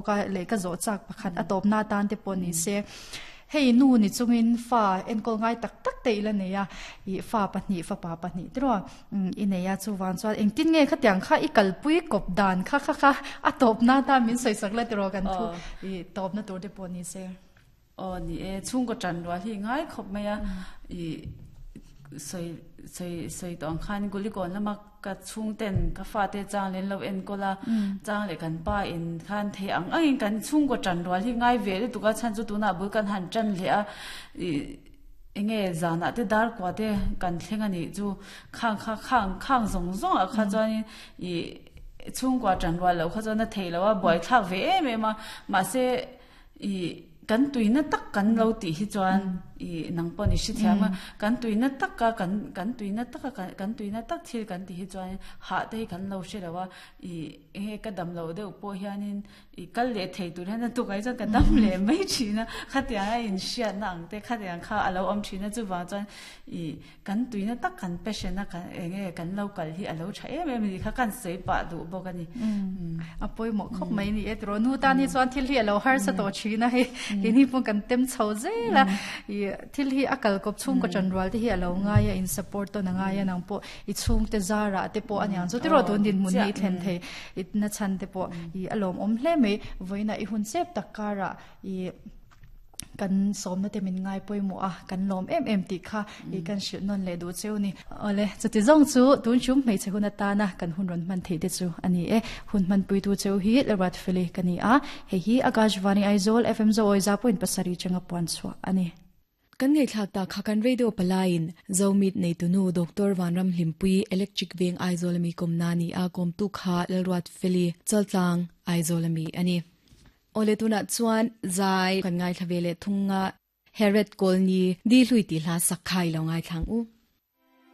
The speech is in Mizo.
Ka leh ka zawh chak pakhat a tawpna atan te pawh ni se, hei nu ni chungin fa enkawl ngai tak tak te ila nei a, ih fa pahnih fapa pahnih te rawh i nei a, chuvang chuan engtin nge khatiang kha i kalpui kawp dan kha kha kha a tawpna atan min sawisak la tiraw kan thu ih tawpna tur te pawh ni se. Aw ni e, chhungkaw ṭan rual hi ngai khawp mai a, ih sawi sawi sawi tawh ang khan Gulikawn lama ka chhungten ka fate chang leh an lo enkawl a, chang leh kan pa in khan thei ang angin kan chhungkaw ṭan rual hi ngai ve lutuk a, chhan chu tunah bul kan han ṭan leh a, ih eng nge zanah te dar kua te kan thleng a nih chu khang kha khang khang zawng zawng ah kha chuanin ih chhungkua ṭan rual loh kha chuan a theih loh a, buaithlak ve em em a, mahse. I kan tuina tak kan lo tih hi chuan i nang pawh ni hrethiam a, kan tuina taka kan kan tuina taka kan tuina tak thil kan tih hi chuan hah te hi kan lo hre lo a, i enge ka dam loh deuh pawh hianin i kal leh thei tur hian a tukah hi chuan ka dam leh mai thin a, khatiang a inhriatna ang te khatiang kha a lo awm thin a, chuvang chuan i Kan tuina tak kan passion a kan enge kan lo kal hi a lo tha em em a ni kha kan sawi pah duh bawk a ni. A pawimawh khawp mai ni e tiraw nu tan hi chuan thil hi a lo harsa tawh thin a hei keini pawh kan tem chho zel a i thil hi a kal kawp chhungkaw tan rual te hi a lo ngai a in support tawn a ngai a nang pawh i chhungte zarah te pawh a niang chu tiraw tun dinhmun hi i thlen thei i na chhan te pawh i a lawmawm hle mai vawiinah i hun chep tak karah i Kan sawmna te min ngai pawimawh a, kan lawm em em tih kha i kan hrilh nawn leh duh cheu ni. Awle, chuti zawng chu tun chum hmeichhe hun atana kan hun rawn hman theih te chu a ni e. Hun hmanpuitu cheu hi Lalruatfeli ka ni a, hei hi Akashvani Aizawl FM Zoawi za point pasarih changa puan chhuah a ni. Kan ngaihthlak tak kha kan radio palaiin Zomit neitunu Doctor Vanramhlimpui Electric Veng Aizawl ami kawmna ni a kawmtu kha Lalruatfeli Chaltlang Aizawl ami a ni. Awle tunah chuan zai kan ngaithla ve leh thung a, Herod Kawlni di hlui tih hla sak kha i lo ngaithla ang u.